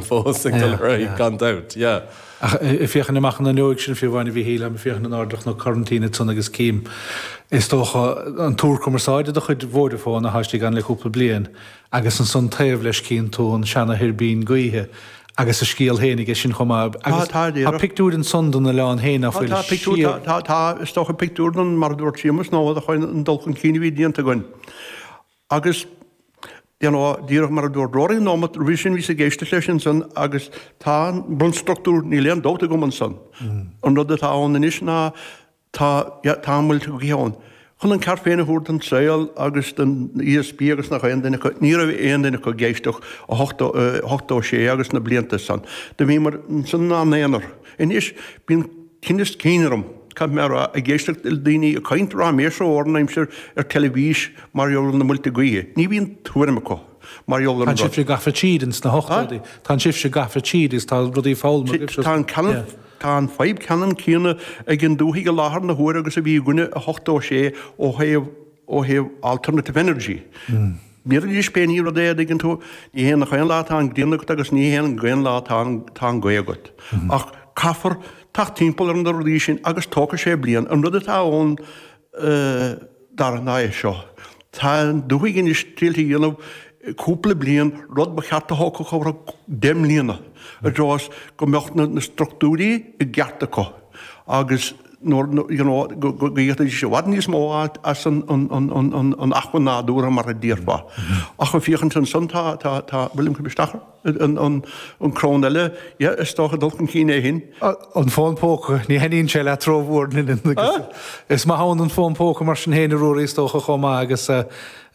fós ag dul ar aghaidh gan dabht, yeah. Ach ag féachaint amach an fhuinneoig sin fiú amháin a Mhíchíl, táim ag féachaint in airde ar Chnoc Coraintín ansan agus cím, is dócha, an túr cumarsáide de chuid Vodafone atá istigh ann le cúpla bliain agus ansan taobh leis cíonn tú an seana-thuirbín gaoithe agus a scéal féin aige sin chomh maith. Agus tá pictiúir ansan den oileán féin ná fuil Tá pictiúr, tá, tá, is dócha pictiúr den, mar a dúirt Séamus, nó an dul chun cinn a bhí déanta againn. Agus, you know, díreach mar a dúirt Rory an nóimeat roimhe sin, bhíos ag éisteacht leis ansan agus tá an bunstruchtúr, níl aon dabht agam ansan. An rud atá ann anois ná tá, yeah, tá muilte gaoithe ann. Chun an ceart féin a thabhairt don saol agus don ESB agus nach aon duine acu, ní raibh aon duine acu ag éisteacht i 86 agus na blianta san. Do bhíomar ansan inár n-aonar. Anois, bíonn tinneas cinn orm, caithfidh mé a rá, ag éisteacht le daoine ag caint ráiméis ó am go haimsir ar teilifís mar gheall ar na muilte gaoithe. Ní bhíonn tuairim acu mar gheall ar an rud. Tá sibhse gafa tríd ins na hochtóidí. Tá sibhse gafa tríd agus tá rudaí foghlamtha agaibhse. Tá an ceann, tá an fadhb ceannann céanna ag an dúthaigh i láthair na huaire agus a bhí againne i 86 ó thaobh, ó thaobh alternative energy. Bíodh pé ní rud é a dtuigeann tú, ní hé nach aon lá atá an ghrian agat agus ní hé aon lá atá an ghaoth agat. Ach caithfear teacht timpeall ar na rudaí sin agus tógfaidh sé bliain. An rud atá ann Dara ná é seo. Tá an dúthaigh anois triailte a dhéanamh cúpla bliain, rud ba cheart a thógfadh chomh deich mbliana, i dtreo is go mbeadh na struchtúirí i gceart acu agus nuair, you know, go bhféadfaidís i bhfad níos mó a fháilt as an acmhainn nádúrtha mar a déarfá. Ach ag féachaint ansan tá, tá, tá, William, cuir isteach an crann eile, yeah, is dócha dul chun cinn é sin. An fón póca, ní thaitníonn sé leat rómhór, Is maith ann an fón póca mar sin féin a Ruairí is dócha chomh maith agus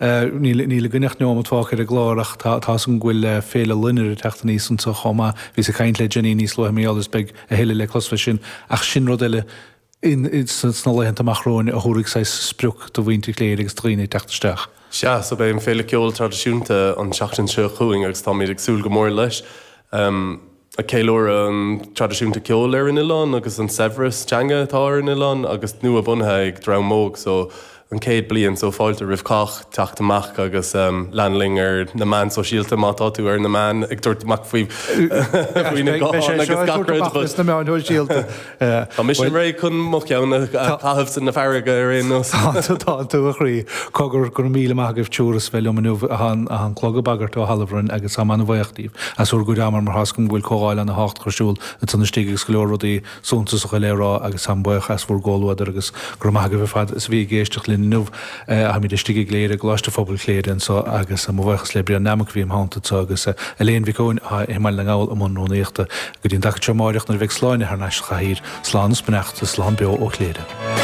Níl níl againn ach neomat fágtha ar an gclár ach tá tá's agam go bhfuil Féile Loinnir ag teacht aníos anseo chomh maith. Bhíos ag caint le Jenny níos luaithe mar gheall air is beidh a thuilleadh le clos fé sin ach sin rud eile in sna laethanta amach romhainn a thabharfaidh saghas sprioc do mhuintir Chléire agus do dhaoine ag teacht isteach. Sea, so beidh an Féile Ceoil Traidisiúnta an tseachtain seo chugainn agus táimid ag súil go mór leis. Ag ceiliúradh an traidisiúnta ceoil ar an oileán agus an saibhreas teanga atá ar an oileán agus nua bunaithe ag dream óg so an chéad bliain so fáilte roimh chách teacht amach agus lean linn ar na meáin sóisialta má tá tú ar na meáin ag tabhairt amach faoi faoi na gutháin agus gach rud but sna meáin shóisialta. Tá mise réidh chun mo cheann a chaitheamh san fharraige ar aon nós. Tá tú a chroí. Cogar, go raibh míle maith agaibh triúr as bheith liom inniu. Tá an clog ag bagairt ó thalamh orainn agus táim an-bhuíoch díbh as bhur gcuid ama mar tá's agam go bhfuil comhdháil ana-thábhachtach ar siúl ansan istigh agus go leor rudaí suntasacha le rá agus táim buíoch as bhur gcomhluadar agus go raibh maith agaibh ar fad as a bhí ag éisteacht linn inniu. Táimid istigh i gCléire, i gColáiste Phobail Chléire anseo agus mo bhuíochas le Brian Nammock a bhí im theannta anseo agus Elaine Mhic Eoin atá i mBaile na nGall i mbun rúnaíochta. Go dtí an dtaca seo amáireach nuair a bheidh Sláine thar n-ais sa chathaoir, slán is beannacht is slán beo ó Chléire.